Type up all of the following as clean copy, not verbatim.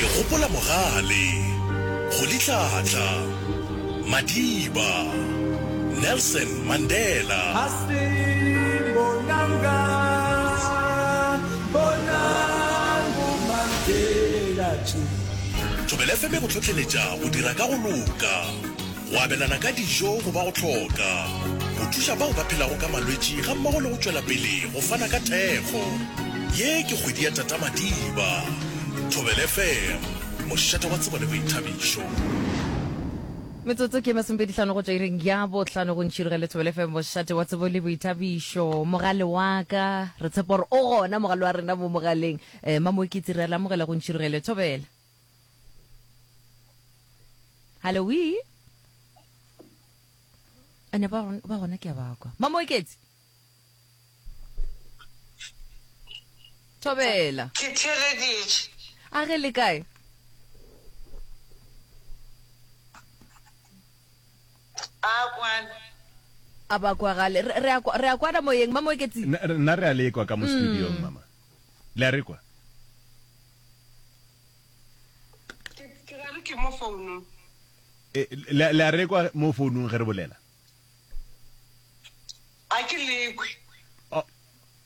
Re gopola Mogale, Rolihlahla, Madiba, Nelson Mandela. Thobela FM e go hlohleletša go dira ka go loka, go abelana ka dijo go ba go hloka, go thuša bao ba phelago ka malwetši gammogo le go tšwela pele go fana ka thekgo. Ye ke kgwedi ya Tata Madiba. Thobela FM, mošate wa tsebo le boithabišo. Metsotso ke masomepedihlano go tšwa iring ya bohlano go ntšhirogele Thobela FM mošate wa tsebo le boithabišo. Mogale wa ka, re tshepa gore o gona mogale wa rena mo mogaleng. Eh, Mamoeketsi re a le amogela go ntšhirogele Thobela. Hallo, wi. Ene ba ba gona ke a ba kwa. Mamoeketsi. Thobela. Ke theeleditše. A ge le kae? A kwana. A ba kwagale. Re re a re a kwana moyeng Mamoeketsi. Nna re a le kwa ka mo studiong mama. Le a re kwa? Ke ke ra re ke mo founung. E, le, le a re kwa mo founung ge re bolela? A ke le kwe. Oh,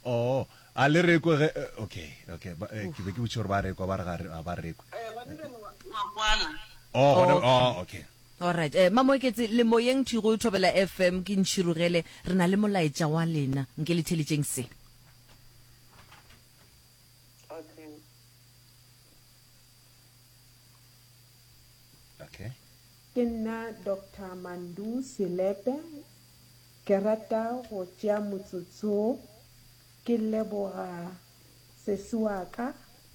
oh, a le re kwe ge, eh, okay, okay, ba, eh, ke be ke botšiša gore ba re kwa, ba re ga re, ga ba re kwe. Eh, gona bjale wa, wa kwana. Oh, gona, Okay. oh, okay. Alright, eh, Mamoeketsi, le moyeng thwi go Thobela FM, ke Ntšhirogele, re na le molaetša wa lena, nke le theletšeng se. Okay. Okay. Ke nna Doctor Mandu Selepe, ke rata go tšea motsotso ke leboga sesi wa ka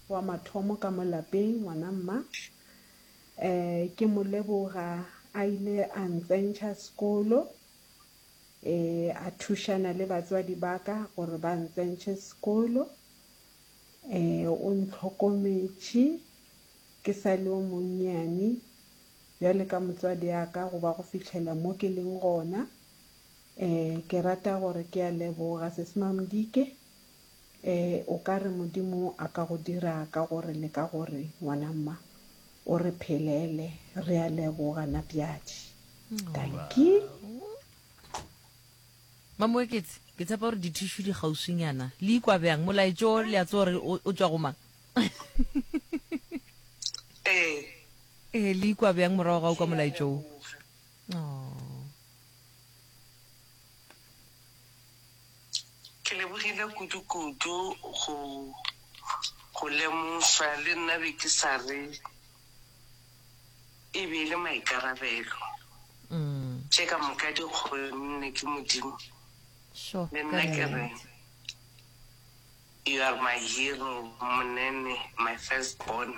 wa mathomo ka mo lapeng, ngwana mma. Um ke mo leboga a ile a ntsentšha sekolo, um a thušana le batswadi ba ka gore ba ntsentšhe sekolo. Um o ntlhokometše ke sa le o monnyane bjale ka motswadi a ka go ba go fihlela mo ke leng gona. Um ke rata gore ke a leboga Sesi Mamdike. Um o ka re Modimo a ka go dira ka gore le ka gore ngwana mma o re phelele. Re a leboga Napjadi. Dankie. Mamoeketsi, ke tshepa gore dithišu di kgauswinyana. Le ikwa bjang? Molaetšo o le a tseba gore o, o tšwa go mang? Ee. Ee, le ikwa bjang morago ga o kwa Ke a molaetšo wo? leboga. Oh. Ke lebogile kudu-kudu go, go lemošwa. Le nna be ke sa re e be e le maikarabelo. Tše ka moka di kgonne ke Modimo. Sure, Le ka nna ke re, nnete. You are my hero, Monene, my first born.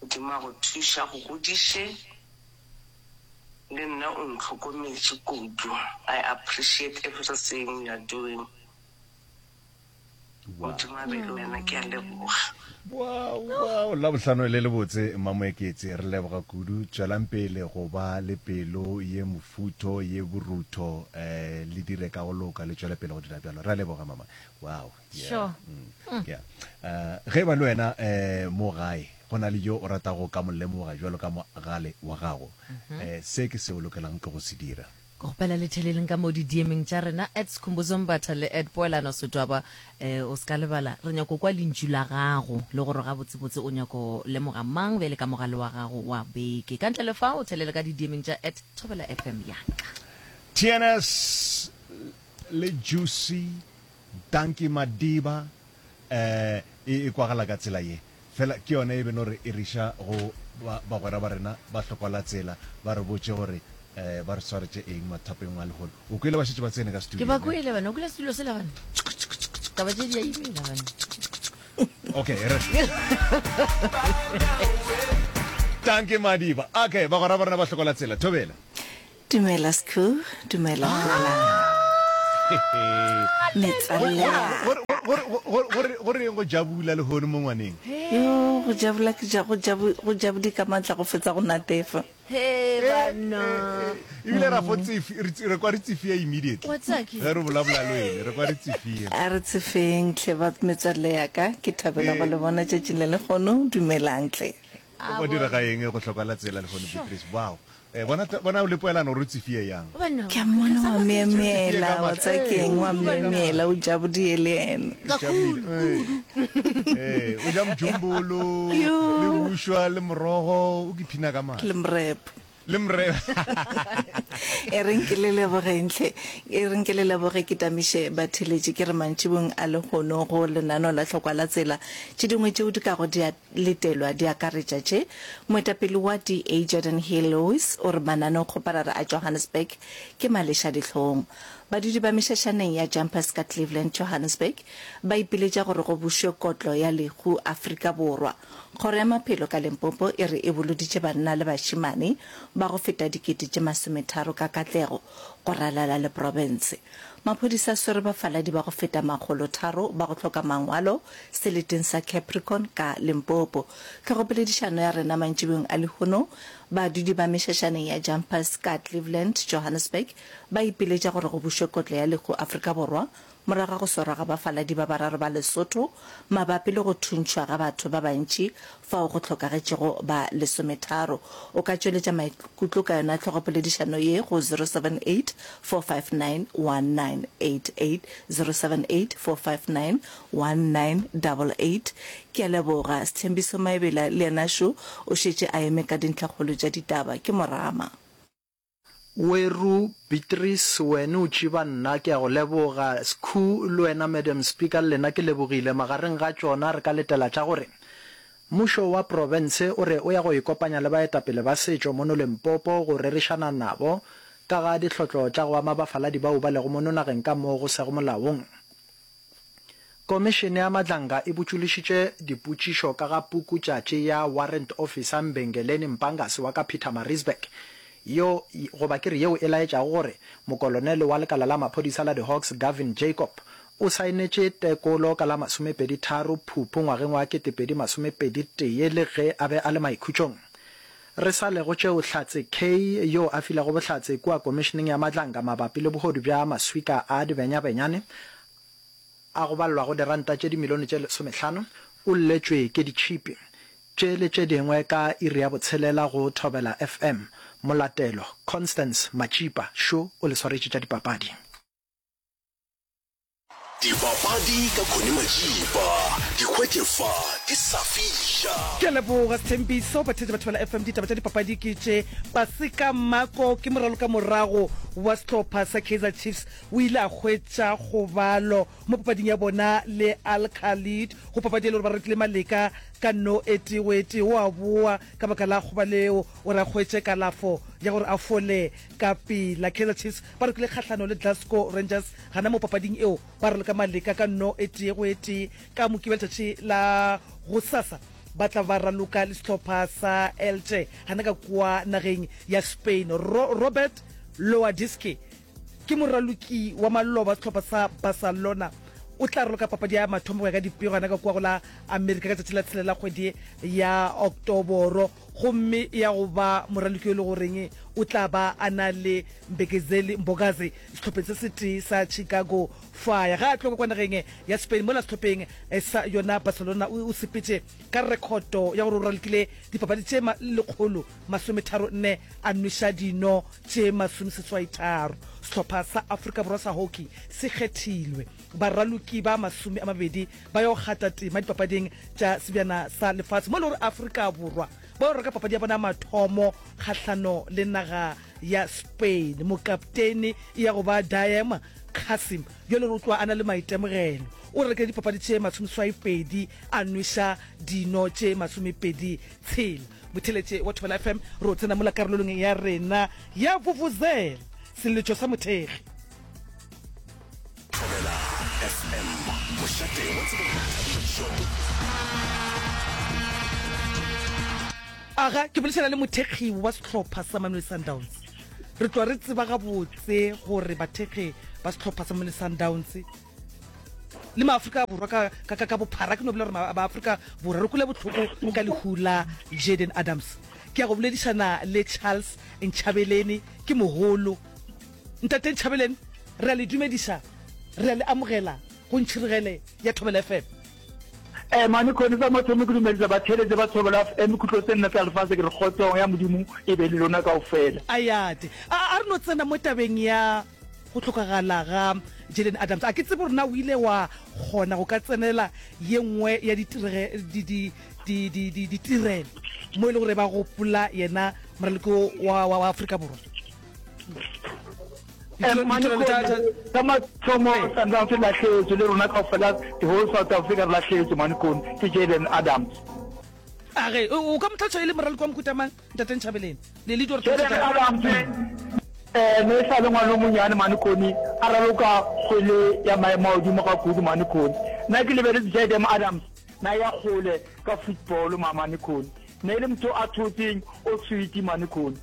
Modimo a go thuše, a go godiše. Le nna o ntlhokometše kudu. I appreciate everything you are doing. Modimo a be le wena, ke a leboga. Wow, wow, Labohlano le lebotse Mmamoeketsi, re leboga kudu. Tšwelang pele go ba le pelo ye mofutho, ye borutho, eh, le dire ka go loka, le tšwele pele go dira bjalo. Re a leboga mama. Wow, yeah. Sure. Mm, yeah. Eh, ge e ba le wena eh, mo gae go na le yo o ratago ka mo lemoga bjalo ka mogale wa gago, eh, se ke se o lokelang ke go se dira. Ke kgopela le theleleng ka mo di-DM-eng tša rena at Skhumbuzo Mbatha le at Poelano Setwaba. Eh, o se ka lebala, re nyako kwa lentšu la gago le gore gabotsebotse o nyako lemoga mang bjale ka mogale wa gago wa beke. Ka ntle le fa, o thelele ka di-DM-eng tša at Thobela FM ya ka. TNS le Juicy Dankie Madiba eh e e kwagala ka tsela ye. Fela ke yona e be no re e riša go ba bagwera ba rena ba hlokola tsela ba re botše gore eh ba re swaretše eng mathapeng a lehono. O kwele ba šetše ba tsene ka Ke studio ba ne? kwele bana, o kwele setulo sela bana. Taba tše di a imela bana. Okay, re Dankie Madiba. Okay, bagwera ba rena ba hlokola tsela. Thobela. Dumela Skhoo, dumela Poelano. Metswalle ya Go reng go jabula lehono mo ngwaneng? Yo. Go jabula ke ja go jabu go jabudi ka matla go fetsa go natefa. He banna. Ebile ra fo tsefi re tse- re kwa re tsefia immediately. Wa tseba ke- Ge re bolabola le wene re kwa re tsefia. A re tsefeng hle ba metswalle ya ka, ke thabela go le bona tšatšing le lekgono. Dumelang hle. O go direga eng go hloka la tsela lehono Beatrice? Wow. Eh, bona bona o le poelano gore o tsefie yang. Ke a mmona wa myemyela, wa tseba ke eng, wa myemyela, o jabodie le yena. Eh, o ja mjumbolo, le bušwa, le morogo, o ke phina ka matla. Le mrepo. Le mrepo. E reng ke le lebogeng hle, e reng ke le leboge ke tamiše batheeletši ke re mantšibong a lehono go lenaneo la Hlokwa la Tsela tše dingwe tšeo di kago di a letelwa di akaretša tše, Moetapele wa DA Geordin Hill-Lewis o re mananeokgoparara a Johannesburg ke malešadihlong. Badudi ba mešašaneng ya Jumpers ka Cleveland, Johannesburg ba ipiletša gore go bušwe kotlo ya lehu Afrika Borwa. Kgoro ya Maphelo ka Limpopo e re e boloditše banna le bašemane ba go feta dikete tše masometharo ka katlego go ralala le profense. Maphodisa a swere bafaladi ba go feta makgolotharo ba go hloka mangwalo seleteng sa Capricorn ka Limpopo. Tlhogopoledišano ya rena mantšibeng a lehono, badudi ba mešašaneng ya Jumpers ka Cleveland, Johannesburg ba ipiletša gore go bušwe kotlo ya lehu Afrika Borwa morago ga go swarwa ga bafaladi ba bararo ba Lesotho mabapi le go thuntšhwa ga batho ba bantši fao go hlokagetšego ba lesometharo. O ka tšweletša maikutlo ka yona tlhogopoledišano ye go 078 459 1988, 078 459 1988. Ke a leboga. Sthembiso Maebela le yena šo o šetše a eme ka dintlhakgolo tša ditaba. Ke Morama. Weru, Beatrice, wene o tšiba nna, ke a go leboga. Skhu, le wena Madam Speaker, le lena ke lebogile. Magareng ga tšona re ka letela tša gore mmušo wa profense o re o ya go ikopanya le baetapele ba setšo mono Limpopo go rerišana nabo ka ga dihlotlo tša go ama bafaladi bao ba lego mono nageng ka mo go sego molaong. Komišene ya Madlanga e botšološitše dipotšišo ka ga pukutšatši ya Warrant Officer Mbengeleni Mpangasi wa ka Pietermaritzburg yo goba ke re yeo e laetšago gore mokolonele wa lekala la maphodisa la di-Hawks Gavin Jacob o saenetše tekolo ka la masomepedi-tharo Phuphu ngwageng wa 2021 le ge a be a le maikhutšong. Re sa le go tšeo Hlatse Kay yo a filego bohlatse kua Komišeneng ya Madlanga mabapi le bohodu bja maswika a dibenyabenyane a go balelwago diranta tše dimilione tše lesomehlano, o lletšwe ke ditšhipi. Tše le tše dingwe ka iri ya botshelela go Thobela FM. Molatelo, Constance Matšipa, šo o le swaretše tša dipapadi. Dipapadi ka Connie Majiba, di hwetše fa di sa fiša. Ke a leboga Sthembiso. Batheetši ba Thobela FM, ditaba tša dipapadi ke tše. Paseka Mako ke moralokamorago wa sehlopha sa Kaizer Chiefs o ile a hwetša kgobalo mo papading ya bona le Al Khalid go papadi e le gore ba rekile maleka ka no e tee go e tee. O a boa ka baka la kgobalo eo gore a hwetše kalafo ya gore a fole ka pela. Kaizer Chiefs ba rokile kgahlano le Glasgow Rangers gana mo papading eo ba raloka maleka ka no e tee go e tee. Ka Mokibelo letšatši la gosasa ba tla ba raloka le sehlopha sa Elche gana ka kua nageng ya Spain. Ro Robert Lewandowski ke moraloki wa maloba sehlopha sa Barcelona o tla raloka papadi ya mathomo go ya ka dipego gana ka kua go la Amerika ka tšatši la tshelela kgwedi ya Oktoboro gomme ya go ba moraloki yo e le goreng o tla ba a na le Mbekezeli Mbokazi sehlopheng se setee sa Chicago Fire. Ga a tloga kwa nageng ya Spain mola sehlopheng sa yona Barcelona o sepetše ka rekhoto ya gore o ralokile dipapadi tše 134 a nweša dino tše masomeseswaitharo. Sehlopha sa Afrika Borwa sa hockey se kgethilwe baraloki ba 20 ba yo kgatha tema dipapading tša Sebjana sa Lefase mo e le gore Afrika Borwa ba yo reka papadi ya bona ya mathomo kgahlano le naga ya Spain. Mokaptene e ya go ba Daem Cassim yo le gore o tloga a na le maitemogelo. O ralokile dipapadi tše masomeswai-pedi a nweša dino tše masomepedi tshela. Motheeletše wa Thobela FM, re o tsena mola karolong ya rena ya Vuvuzela, seletšo sa mothekgi. Thobela FM, mošate wa tsebo le boithabišo. Aga, ke boledišana le mothekgi wa sehlopha sa Mamelodi Sundowns. Re tloga re tseba gabotse gore bathekgi ba sehlopha sa Mamelodi Sundowns. le Maafrika Borwa ka, ka, ka, ka bophara, ke no bolela gore Maafrika Borwa re kwele bohloko ka lehu la Jayden Adams. Ke ya go boledišana le Charles Nchabeleni, ke mogolo. Ntate Nchabeleni, re a le dumediša, re a le amogela go Ntšhirigele ya Thobela FM. Eh, mane khone sa mathomo ke dumedisa batheeletše ba Thobela FM khutlo tse nne tsa lefase ke re kgotsong ya Modimo e be le lona kaofela. Ayate. A, a re no tsena mo tabeng ya go hlokagala ga Jayden Adams. A ke tsebe gore na o ile wa kgona go ka tsenela ye nngwe ya ditirege, di, di, di, di, di, ditirelo mo e le gore ba gopola yena moraloki wa, wa, wa Afrika Borwa. Sa mathomo Sundowns e lahletswe le rona kaofela the whole South Africa re lahletswe mane kone ke Jayden Adams. A ge o ka mo tlhatswa e le moraloki wa mohuta mang ntate Nchabeleng le le Jayden Adams eh ne e sa le ngwana o monyane mane kone a raloka kgwele ya maemo a godimo ga kudu mane kone. Nna ke lebeletse Jayden Adams na ya kgole ka football mane kone. Ne e le motho a thotseng o sweet mane kone.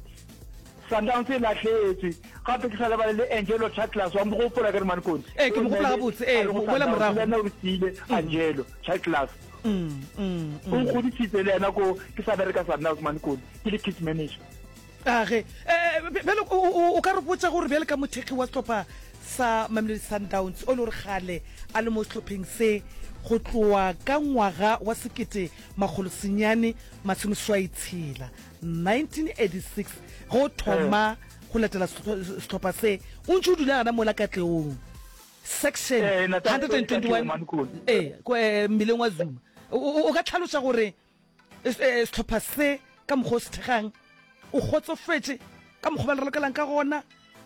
Sundowns e lahletswe. Gape ke sa lebale le Angelo Chaklas, wa mo gopola ke re Mankone? Ee, ke mo gopola gabotse, ee, mola morago. Le yena o re siile, Angelo Chaklas. O nkgodisitse le yena ko ke sa bereka Sundowns Mankone, ke le kit manager. A ge, bjale o ka re botša gore bjale ka mothekgi wa sehlopha sa Mamelodi Sundowns o le gore kgale a le mo sehlopheng se go tloa ka ngwaga wa 1986, 1986 ge o thoma go latela sehlopha se o ntše o dula gana mola Katleong section 121 ee mmileng wa Zuma o ka tlhaloša gore sehlopha se ka mokgwa o se thegang o kgotsofetše ka mokgwa ba le ralokelang ka gona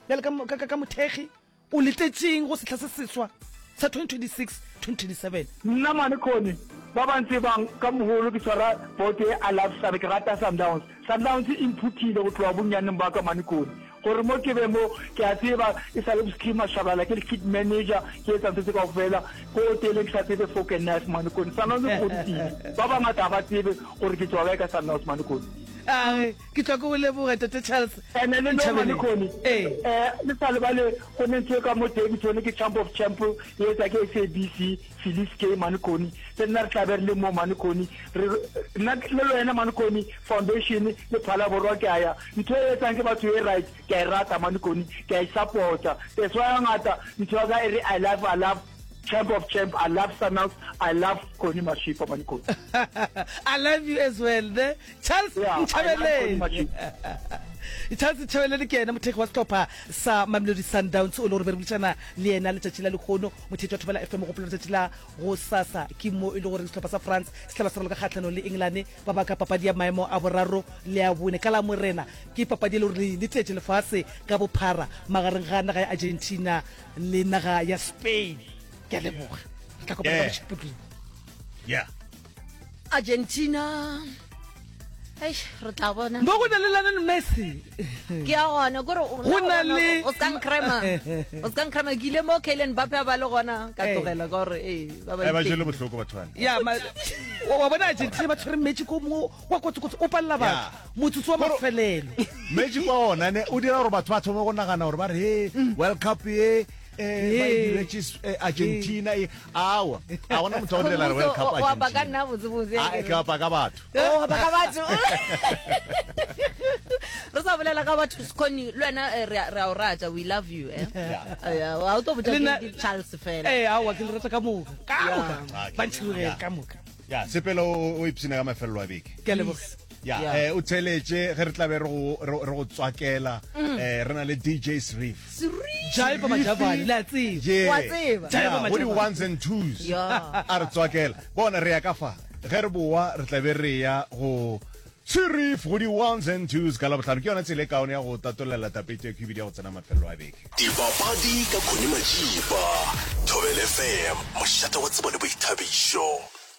bjale ka mothekgi O letetšeng go sehla se seswa sa 2026, 2027? Nna mane Connie, ba ba ntsebang ka mogolo ke tshwara boto ye I love Sun, ke rata Sundowns. Sundowns e mphuthile go tloga bonnyaneng ba ka mane Connie. Gore mo ke be mo, ke a tseba e sa le Bosky Mashabalala, ke le kit manager, ke etsa ntho tse kaofela, ko hoteleng ke sa tsebe fork and knife mane Connie. Sundowns e nkgodisitse. Ba bangata ga ba tsebe gore ke tswa kae ka Sundowns mane Connie. A Ke tla ke go leboga, Tate Charles Ene le no mane Nchabeleng. Connie, Ee. eh, le sa lebale go ne ntho e ka mo Daveyton ke Champ of Champ e etsa ke SABC, Felice K mane Connie. Le nna re tla be re le mo mane Connie. Re nna le le wena mane Connie Foundation le Phalaborwa ke a ya. Ntho e etsang ke batho e right, ke a e rata mane Connie, ke a e support-a. That's why hangata ntho ya ka e re I love, I love Champ of Champ, I love Sundowns, I love Connie Mashipa mane Connie. I love you as well, ne? Charles Yeah, I love Connie Nchabeleng. Mashipa. Charles Nchabeleng ke yena mothekgi wa sehlopha sa Mamelodi Sundowns o le gore be re boledišana le yena letšatši la lehono. Motheetši wa Thobela FM gopola letšatši la go sasa ke mo e le gore sehlopha sa France se tla ba se raloka kgahlanong le England ba baka papadi ya maemo a boraro le a bone ka Lamorena ke papadi e le gore le letetše lefase ka bophara magareng ga naga ya Argentina le naga ya Spain. Ke a leboga. Re tla kopana ka Yeah. Mošupologo. Yeah. Argentina Eish, re tla bona Mo go na le Lionel Messi. ke ya gona kore o- Go na le- o ska nkrema o ska nkrema ke ile mo Kylian Mbappe a ba le gona ka Eh. tlogela ka gore ee ba ba Eh, ba jele ipeng. bohloko batho bana. Ya ma wa wa bona Argentina ba tshwere magic o mongwe wa kotsi-kotsi o palela batho Yeah. motsotso wa Kore- mafelelo. Magic wa ona ne o dira gore batho ba thome go nagana gore ba re he World Cup ye eh, ba e diretše eh, Argentina e awa a gona motho wa go direla re World Cup O apa ka Argentina nna botsebotse a ke apa ka batho o apa ka batho re sa bolela ka batho Skhoni le wena eh, re a re a o rata we love you eh Yeah, wa o tlo botša Le nna- ke Charles fela Ee aowa ke le rata ka moka ka moka Yeah. ba ntšhirogele ka moka. ya sepela o o ipshine ka mafelelo a beke Ke a leboga. Ya, Yeah. eh, o theletše ge re tla be re go re re go tswakela eh, re na le DJ Sreef. Jaiva Majavane, le a tseba. Yeah. Wa tseba. Jaiva Yeah, go di Majavane. ones and twos. Yeah. A re tswakela. Bona re ya ka fa. Ge re boa re tla be re ya go Sreef go di ones and twos ka Labohlano. Ke yona tsela e kaone ya go tatollela tapete ya khwibidi ya go tsena mafelelo a beke. Dipapadi ka Connie Majiba, Thobela FM, mošate wa tsebo le boithabišo.